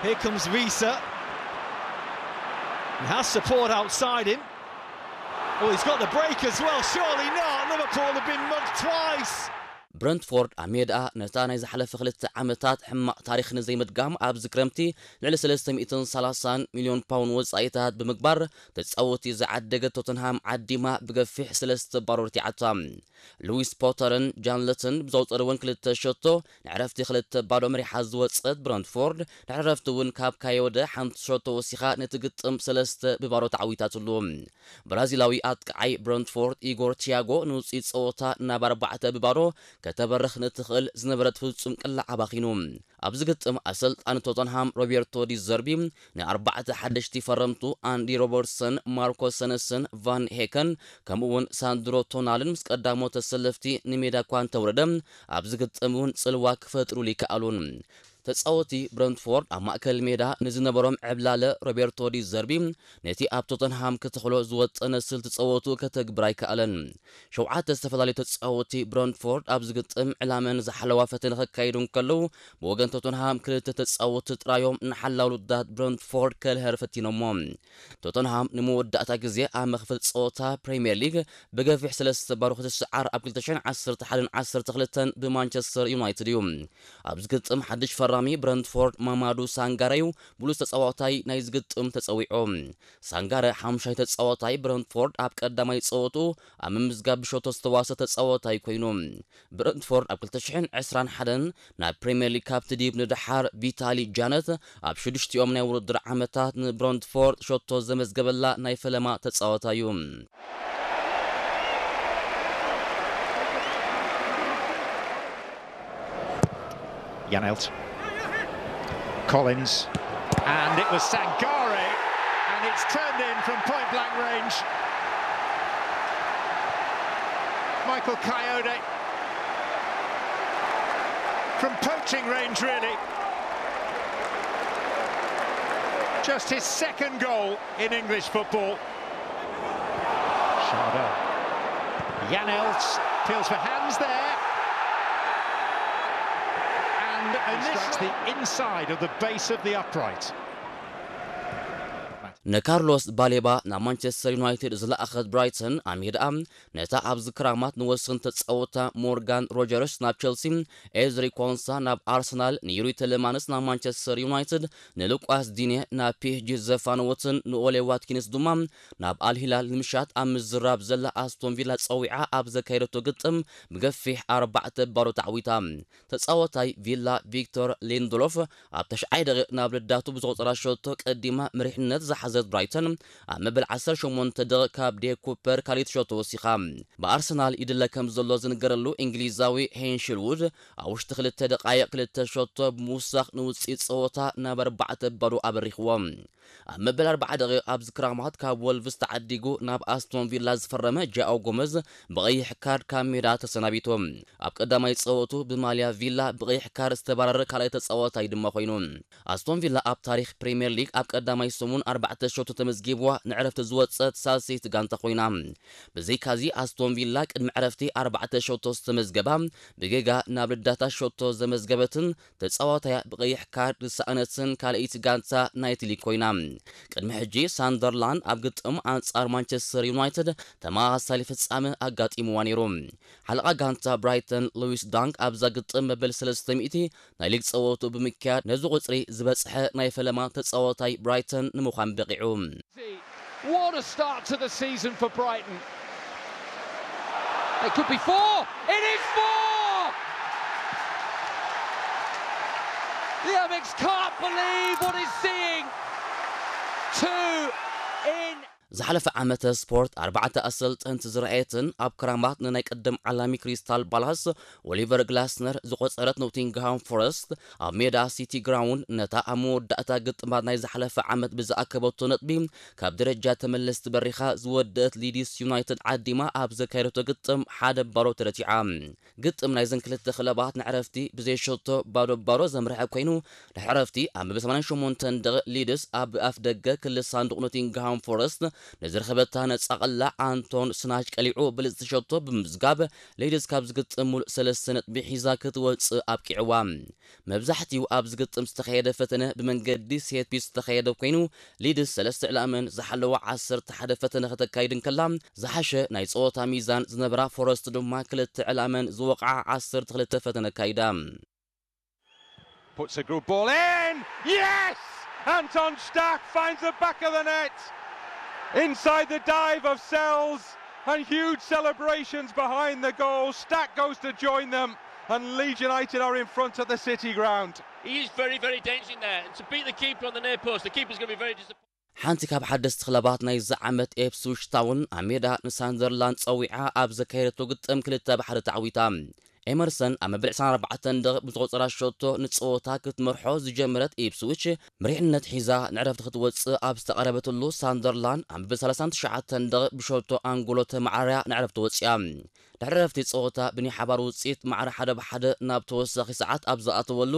Here comes Visa. And has support outside him. Oh, he's got the break as well. Surely not. Liverpool have been mugged twice. ብረንትፎርድ ኣብ ሜድኣ ነታ ናይ ዝሓለፈ ክልተ ዓመታት ሕማቕ ታሪኽ ንዘይምድጋም ኣብዚ ክረምቲ ልዕሊ ሰለስተ ሚእትን ሰላሳን ሚልዮን ፓውንድ ወጻኢታት ብምግባር ተጻወቲ ዝዓደገት ቶተንሃም ዓዲማ ብገፊሕ ሰለስተ ባዶ ረቲዓታ። ሉዊስ ፖተርን ጃን ለትን ብዘውጸርወን ክልተ ሸቶ ንዕረፍቲ ክልተ ባዶ መሪሓ ዝወጸት ብረንትፎርድ ድሕሪ ዕረፍቲ እውን ካብ ካዮደ ሓንቲ ሸቶ ወሲኻ ነቲ ግጥም ሰለስተ ብባዶ ተዓዊታትሉ። ብራዚላዊ ኣጥቃዓይ ብረንትፎርድ ኢጎር ቲያጎ ንውፅኢት ፀወታ ናብ ኣርባዕተ ብባዶ ከተበርኽ ንትኽእል ዝነበረት ፍጹም ቅላዕ ኣባኺኑ። ኣብዚ ግጥም ኣሰልጣኒ ቶተንሃም ሮቤርቶ ዲዘርቢ ንኣርባዕተ ሓደሽቲ ፈረምቱ ኣንዲ ሮበርትሰን፣ ማርኮ ሰነስን ቫን ሄከን ከምኡ እውን ሳንድሮ ቶናልን ምስ ቀዳሞት ተሰለፍቲ ንሜዳ እኳ እንተውረደ ኣብዚ ግጥም እውን ጽልዋ ክፈጥሩሉ ይከኣሉን። ተጻወቲ ብረንትፎርድ ኣብ ማእከል ሜዳ ንዝነበሮም ዕብላለ ሮቤርቶ ዲዘርቢ ነቲ ኣብ ቶተንሃም ክተኽሎ ዝወጠነ ስልቲ ጸወቱ ከተግብር ኣይከኣለን። ሸውዓተ ዝተፈላለዩ ተጻወቲ ብረንትፎርድ ኣብዚ ግጥም ዕላመን ዝሓለዋ ፈተነ ከካይዱ እንከለዉ ብወገን ቶተንሃም ክልተ ተጻወቲ ጥራዮም ንሓላው ልዳት ብረንትፎርድ ከልሀር ፈቲኖሞ። ቶተንሃም ንመወዳእታ ግዜ ኣብ መኽፈቲ ጸወታ ፕሪምየር ሊግ ብገፊሕ ሰለስተ ባዶ ክትስዓር ኣብ ክልተ ሽሕን ዓሰርተ ሓደን ዓሰርተ ክልተን ብማንቸስተር ዩናይትድ እዩ። ኣብዚ ግጥም ሓድሽ ፈራሚ ብረንትፎርድ ማማዱ ሳንጋረ እዩ ብሉጽ ተጻዋታይ ናይ ዝግጥም ተጸዊዑ። ሳንጋረ ሓሙሻይ ተጻዋታይ ብረንትፎርድ ኣብ ቀዳማይ ጸወቱ ኣብ ምምዝጋብ ብሸቶ ዝተዋሰ ተጻዋታይ ኮይኑ። ብረንትፎርድ ኣብ ክልተ ሽሕን ዕስራን ሓደን ናብ ፕሪምየር ሊግ ካብ ትዲብ ንደሓር ቪታሊ ጃነት ኣብ ሽዱሽቲኦም ናይ ውድድር ዓመታት ንብረንትፎርድ ሸቶ ዘመዝገበላ ናይ ፈለማ ተጻዋታይ እዩ። Janelt. Collins. And it was Sangare. And it's turned in from point blank range. Michael Coyote. From poaching range, really. Just his second goal in English football. Chardot. Janelt feels for hands there. And initially the inside of the base of the upright. ንካርሎስ ባሌባ ናብ ማንቸስተር ዩናይትድ ዝለኣኸት ብራይተን ኣብ ሜድኣ ነታ ኣብዚ ክራማት ንወስን ተጻወታ ሞርጋን ሮጀርስ ናብ ቸልሲ፣ ኤዝሪ ኮንሳ ናብ ኣርሰናል፣ ንዩሪ ተለማንስ ናብ ማንቸስተር ዩናይትድ፣ ንሉቃስ ዲኔ ናብ ፒኤስጂ ዘፋነወትን ንኦሌ ዋትኪንስ ድማ ናብ ኣልሂላል ንምሻጥ ኣብ ምዝራብ ዘላ ኣስቶን ቪላ ጸዊዓ ኣብ ዘካየደቶ ግጥም ብገፊሕ ኣርባዕተ ባዶ ተዓዊታ። ተጻዋታይ ቪላ ቪክቶር ሊንድሎፍ ኣብ ተሽዓይ ደቂቕ ናብ ልዳቱ ብዘቑጸራ ሸቶ ቀዲማ መሪሕነት ዝሓዘት ብራይተን ኣብ መበል ዓሰርተ ሸሞንተ ደቂቕ ካብ ዴ ኩፐር ካልኢት ሸቶ ወሲኻ። ብኣርሰናል ይድለ ከም ዘሎ ዝንገረሉ እንግሊዛዊ ሄንሽልውድ ኣብ ውሽጢ ክልተ ደቃይቕ ክልተ ሸቶ ብምውሳኽ ንውጽኢት ጸወታ ናብ ኣርባዕተ ባዶ ኣበሪኽዎ። ኣብ መበል ኣርባዓ ደቂቕ ኣብዚ ክራማት ካብ ወልቭስ ተዓዲጉ ናብ ኣስቶን ቪላ ዝፈረመ ጃኦ ጎመዝ ብቐይሕ ካርድ ካብ ሜዳ ተሰናቢቱ። ኣብ ቀዳማይ ጸወቱ ብማልያ ቪላ ብቐይሕ ካርድ ዝተባረረ ካልኣይ ተጻዋታይ ድማ ኮይኑ። ኣስቶን ቪላ ኣብ ታሪኽ ፕሪምየር ሊግ ኣብ ቀዳማይ ሰሙን ኣርባዕተ ሸቶ ተመዝጊብዋ ንዕረፍቲ ዝወጸት ሳልሰይቲ ጋንታ ኮይና። ብዘይካዚ ኣስቶን ቪላ ቅድሚ ዕረፍቲ ኣርባዕተ ሸቶ ዝተመዝገባ ብጌጋ ናብ ልዳታ ሸቶ ዘመዝገበትን ተጻዋታያ ብቐይሕ ካርድ ዝሰኣነትን ካልኣይቲ ጋንታ ናይቲ ሊግ ኮይና። ቅድሚ ሕጂ ሳንደርላንድ ኣብ ግጥም ኣንጻር ማንቸስተር ዩናይትድ ተመሳሳሊ ፍጻመ ኣጋጢምዋ ነይሩ። ሓለቓ ጋንታ ብራይተን ሉዊስ ዳንክ ኣብዛ ግጥም መበል ሰለስተ ሚእቲ ናይ ሊግ ጸወቱ ብምክያድ ነዚ ቁጽሪ ዝበጽሐ ናይ ፈለማ ተጻዋታይ ብራይተን ንምዃን በቒዑ። What a start to the season for Brighton. It could be four. It is four! The Amex can't believe what he's seeing. Two in. ዝሓለፈ ዓመተ ስፖርት ኣርባዕተ ኣሰልጠንቲ ዝረኣየትን ኣብ ክራማት ንናይ ቅድም ዓላሚ ክሪስታል ባላስ ኦሊቨር ግላስነር ዝቆጸረት ኖቲንግሃም ፎረስት ኣብ ሜዳ ሲቲ ግራውንድ ነታ ኣብ መወዳእታ ግጥማት ናይ ዝሓለፈ ዓመት ብዝኣከበቶ ነጥቢ ካብ ደረጃ ተመለስቲ በሪኻ ዝወደአት ሊድስ ዩናይትድ ዓዲማ ኣብ ዘካየደቶ ግጥም ሓደ ባዶ ተረቲዓ። ግጥም ናይዘን ክልተ ክለባት ንዕረፍቲ ብዘይሸቶ ባዶ ባዶ ዘምርሐ ኮይኑ ድሕሪ ዕረፍቲ ኣብ መበል ሰማንያን ሸሞንተን ደቂቕ ሊድስ ኣብ ኣፍ ደገ ክሊ ሳንዱቕ ኖቲንግሃም ፎረስት ንዝረኸበታ ነጻ ቀላዕ ኣንቶን ስናች ቀሊዑ ብልጽቲ ሸቶ ብምምዝጋብ፣ ሊድስ ካብ ዝግጥም ሙሉእ ሰለስተ ነጥቢ ሒዛ ክትወጽእ ኣብቂዕዋ። መብዛሕትኡ ኣብ ዝግጥም ዝተኻየደ ፈተነ ብመንገዲ ሴት ፒስ ዝተኻየደ ኮይኑ፣ ሊድስ ሰለስተ ዕላመን ዝሓለዋ ዓሰርተ ሓደ ፈተነ ከተካይድ እንከላ፣ ዝሓሸ ናይ ጸወታ ሚዛን ዝነበራ ፎረስት ድማ ክልተ ዕላመን ዝወቕዓ ዓሰርተ ክልተ ፈተነ ኣካይዳ። Puts a good ball in. Yes! Anton Stach finds the back of the net. Inside the dive of Sells and huge celebrations behind the goal. Stach goes to join them and Leeds United are in front at the City ground. He is very, very dangerous in there. And to beat the keeper on the near post, the keeper's going to be very disappointed. ሓንቲ ካብ ሓደስቲ ክለባት ናይዚ ዓመት ኤፕስዊች ታውን ኣብ ሜዳ ንሳንደርላንድ ጸዊዓ ኣብ ዘካየደቶ ግጥም ክልተ ብሓደ ተዓዊታ። ኤመርሰን ኣብ መበል ዕስራን ኣርባዕተን ደቂቕ ብዝቆጸራ ሸቶ ንጸወታ ክትመርሖ ዝጀመረት ኢፕስዊች፣ መሪሕነት ሒዛ ንዕረፍቲ ክትወጽእ ኣብ ዝተቐረበትሉ፣ ሳንደርላንድ ኣብ መበል ሰላሳን ትሽዓተን ደቂቕ ብሸቶ ኣንጎሎ ተመዓርያ ንዕረፍቲ ወጽያ። ድሕሪ ዕረፍቲ ጸወታ ብናይ ሓባር ውጽኢት ማዕረ ሓደ ብሓደ ናብ ተወሳኺ ሰዓት ኣብ ዝኣተወሉ፣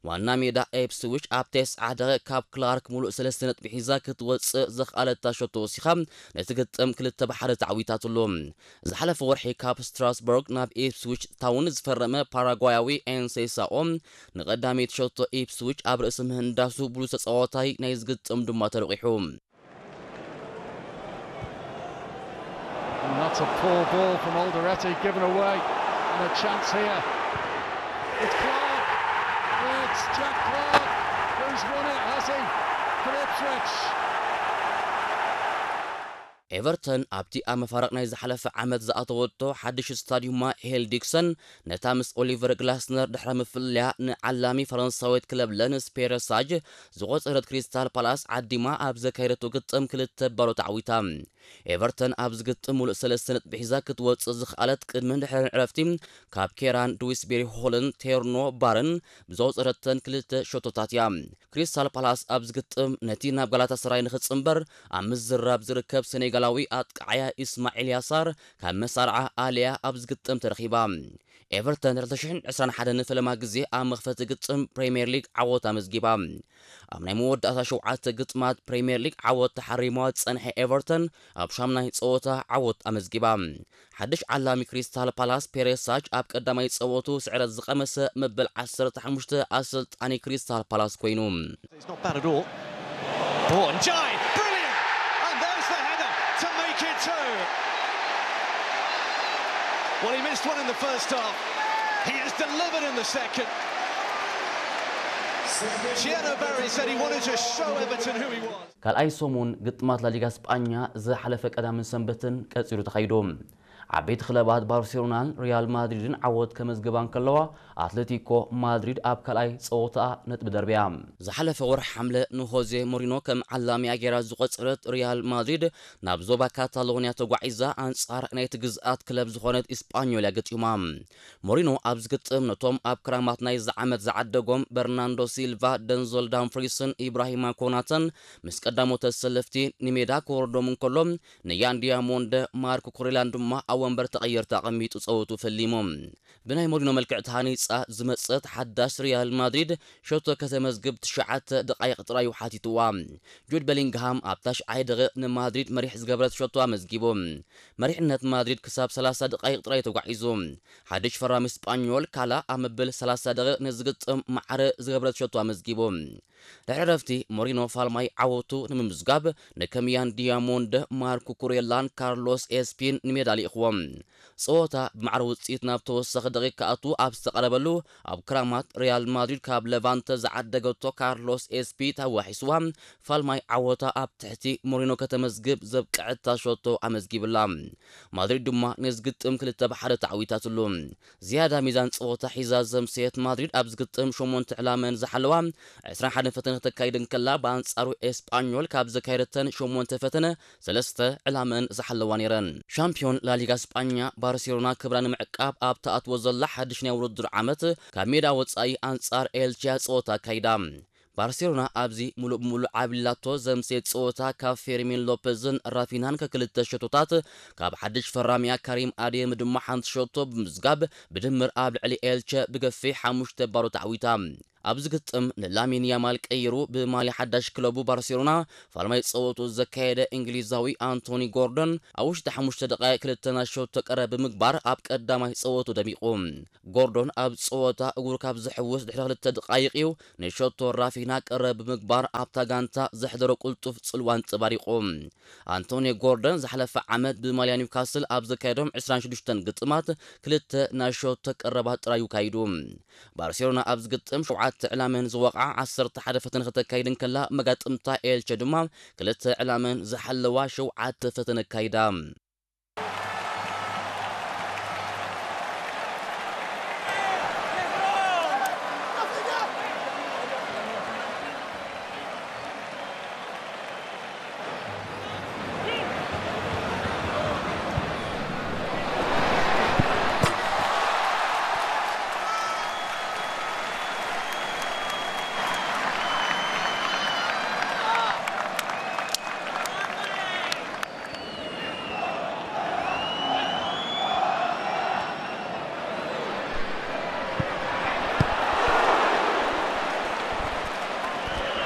ዋና ሜዳ ኤፕስዊች ኣብ ተስዓ ደቂቕ ካብ ክላርክ ሙሉእ ሰለስተ ነጥቢ ሒዛ ክትወጽእ ዘኽኣለታ ሸቶ ወሲኻ ነቲ ግጥም ክልተ ብሓደ ተዓዊታትሉ። ዝሓለፈ ወርሒ ካብ ስትራስቦርግ ናብ ኢፕስዊች ታውን ዝፈረመ ፓራጓያዊ ኤንሴሳኦ፣ ንቐዳመይቲ ሸቶ ኢፕስዊች ኣብ ርእሲ ምህንዳሱ ብሉጽ ተጻዋታይ ናይ ዝግጥም ድማ ተለቒሑ። And that's a poor ball from Alderete given away. And a chance here. It's Clark. It's Jack Clark who's won it, has he? For Ipswich. ኤቨርተን ኣብቲ ኣብ መፋርቕ ናይ ዝሓለፈ ዓመት ዝኣተወቶ ሓድሽ ስታዲዩማ ሄል ዲክሰን፣ ነታ ምስ ኦሊቨር ግላስነር ድሕሪ ምፍልያ ንዓላሚ ፈረንሳዊት ክለብ ለንስ ፔረሳጅ ዝቖጸረት ክሪስታል ፓላስ ዓዲማ ኣብ ዘካየደቶ ግጥም ክልተ ባዶ ተዓዊታ። ኤቨርተን ኣብ ዝግጥም ሙሉእ ሰለስተ ነጥቢ ሒዛ ክትወጽእ ዝኽኣለት ቅድምን ድሕርን ዕረፍቲ ካብ ኬራን ድዊስቤሪ ሆልን ቴርኖ ባርን ብዘውጸረተን ክልተ ሸቶታት እያ። ክሪስታል ፓላስ ኣብ ዝግጥም ነቲ ናብ ጋላታሰራይ ንኽጽንበር ኣብ ምዝራብ ዝርከብ ሰኔጋላዊ ኣጥቃዓያ ኢስማዒል ያሳር ካብ መሳርዓ ኣልያ ኣብ ዝግጥም ተረኺባ። ኤቨርተን ክልተ ሽሕን ዕስራን ሓደን ንፈለማ ግዜ ኣብ መኽፈቲ ግጥም ፕሪምየር ሊግ ዓወት ኣመዝጊባ። ኣብ ናይ መወዳእታ ሸውዓተ ግጥማት ፕሪምየር ሊግ ዓወት ተሓሪምዋ ዝጸንሐ ኤቨርተን ኣብ ሻምናይ ጸወታ ዓወት ኣመዝጊባ። ሓድሽ ዓላሚ ክሪስታል ፓላስ ፔሬሳጅ ኣብ ቀዳማይ ጸወቱ ስዕረት ዝቐመሰ መበል ዓሰርተ ሓሙሽተ ኣሰልጣኒ ክሪስታል ፓላስ ኮይኑ። It's not bad at all. Brought and Jai, brilliant! And there's the header to make it two. Well, he missed one in the first half. He has delivered in the second. Chieno Barry said he wanted to show Everton who he was. ካልኣይ ሰሙን ግጥማት ላሊጋ ስጳኛ ዝሓለፈ ቀዳምን ሰንበትን ቀጺሉ ተኻይዱ። ዓበይቲ ክለባት ባርሴሎናን ሪያል ማድሪድን ዓወት ከመዝግባ እንከለዋ፣ ኣትሌቲኮ ማድሪድ ኣብ ካልኣይ ጸወታኣ ነጥቢ ደርብያ። ዝሓለፈ ወርሒ ሓምለ ንሆዜ ሞሪኖ ከም ዓላሚኣ ገይራ ዝቖጸረት ሪያል ማድሪድ ናብ ዞባ ካታሎንያ ተጓዒዛ ኣንጻር ናይቲ ግዝኣት ክለብ ዝኾነት ኢስጳኞል እያ ገጢማ። ሞሪኖ ኣብ ዝግጥም ነቶም ኣብ ክራማት ናይዚ ዓመት ዝዓደጎም በርናንዶ ሲልቫ፣ ደንዞል ዳምፍሪስን ኢብራሂማ ኮናተን ምስ ቀዳሞት ተሰለፍቲ ንሜዳ ክወርዶም እንከሎ፣ ንያን ዲያሞንደ፣ ማርክ ኩሬላን ድማ ኣብ ወንበር ተቐየርቲ ኣቐሚጡ ጸወቱ ፈሊሙ። ብናይ ሞሪኖ መልክዕ ተሃኒጻ ዝመጸት ሓዳሽ ሪያል ማድሪድ ሸቶ ከተመዝግብ ትሽዓተ ደቓይቕ ጥራይ እዩ ሓቲትዋ። ጁድ ቤሊንግሃም ኣብ ታሽዓይ ደቂቕ ንማድሪድ መሪሕ ዝገበረት ሸቶ ኣመዝጊቡ። መሪሕነት ማድሪድ ክሳብ ሰላሳ ደቓይቕ ጥራይ ተጓዒዙ። ሓድሽ ፈራሚ ስጳኞል ካላ ኣብ መበል ሰላሳ ደቂቕ ንዝግጥም ማዕረ ዝገበረት ሸቶ ኣመዝጊቡ። ድሕሪ ረፍቲ ሞሪኖ ፋልማይ ዓወቱ ንምምዝጋብ ንከምያን ዲያሞንደ፣ ማርኩ ኩሬላን ካርሎስ ኤስፒን ንሜዳ ልኢኽዎም። ጸወታ ብማዕረ ውጽኢት ናብ ተወሳኺ ደቂቕ ክኣቱ ኣብ ዝተቐረበሉ፣ ኣብ ክራማት ሪያል ማድሪድ ካብ ለቫንተ ዝዓደገቶ ካርሎስ ኤስፒ ተዋሒስዋ ፋልማይ ዓወታ ኣብ ትሕቲ ሞሪኖ ከተመዝግብ ዘብቅዐታ ሸቶ ኣመዝጊብላ። ማድሪድ ድማ ነዚ ግጥም ክልተ ብሓደ ተዓዊታትሉ። ዝያዳ ሚዛን ጸወታ ሒዛ ዘምሰየት ማድሪድ ኣብ ዝግጥም ሸሞንተ ዕላመን ዝሓለዋ ዕስራን ሓደን ፈተነ ክተካይድ እንከላ፣ ብኣንጻሩ ኤስጳኞል ካብ ዘካየደተን ሸሞንተ ፈተነ ሰለስተ ዕላመን ዝሓለዋ ነይረን። ሻምፒዮን ላሊጋ ስጳኛ ባርሴሎና ክብራ ንምዕቃብ ኣብ ትኣትዎ ዘላ ሓድሽ ናይ ውድድር ዓመት ካብ ሜዳ ወጻኢ ኣንጻር ኤልቼ ጸወታ ኣካይዳ። ባርሴሎና ኣብዚ ሙሉእ ብሙሉእ ዓብሊላቶ ዘምሰየት ጸወታ ካብ ፌርሚን ሎፐዝን ራፊናን ከክልተ ሸቶታት፣ ካብ ሓድሽ ፈራሚኣ ካሪም ኣዴም ድማ ሓንቲ ሸቶ ብምዝጋብ ብድምር ኣብ ልዕሊ ኤልቸ ብገፊሕ ሓሙሽተ ባዶ ተዓዊታ። ኣብዚ ግጥም ንላሚን ያማል ቀይሩ ብማልያ ሓዳሽ ክለቡ ባርሴሎና ፋልማይ ጸወቱ ዘካየደ እንግሊዛዊ ኣንቶኒ ጎርደን ኣብ ውሽጢ ሓሙሽተ ደቃይቕ ክልተ ናይ ሸቶ ቀረብ ብምግባር ኣብ ቀዳማይ ጸወቱ ደሚቑ። ጎርዶን ኣብ ጸወታ እግሩ ካብ ዝሕውስ ድሕሪ ክልተ ደቃይቕ እዩ ንሸቶ ራፊና ቀረብ ብምግባር ኣብታ ጋንታ ዘሕደሮ ቅልጡፍ ጽልዋ ኣንጸባሪቑ። ኣንቶኒ ጎርደን ዝሓለፈ ዓመት ብማልያ ኒውካስል ኣብ ዘካየዶም ዕስራን ሽዱሽተን ግጥማት ክልተ ናይ ሸቶ ቀረባት ጥራዩ ካይዱ። ባርሴሎና ኣብዚ ግጥም ሸውዓተ ዕላመን ዝወቕዓ ዓሰርተ ሓደ ፈተነ ከተካይድ እንከላ፣ መጋጥምታ ኤልቸ ድማ ክልተ ዕላመን ዝሓለዋ ሸውዓተ ፈተነ ኣካይዳ።